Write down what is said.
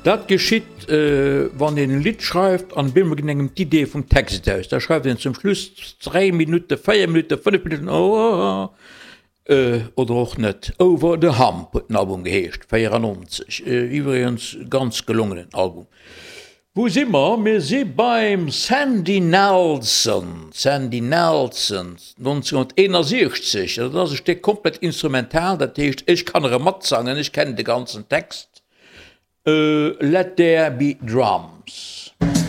Dat geschitt, wann een e Lidd schreift an op eemol ginn engem d'Iddee vum Text aus. Da schreift een zum Schluss 3 Minutten, 4 Minutten, 5 Minutten oder och net. Over the Hump huet den Album geheescht, 94. Iwwregens ganz gelongenen Album. Wou si mer? Mir si beim Sandy Nelson. Sandy Nelson, 1961. Dat ass e Stéck komplett instrumental, dat heescht, ech kann erëm matsangen, ech kennen de ganzen Text. Let there be drums.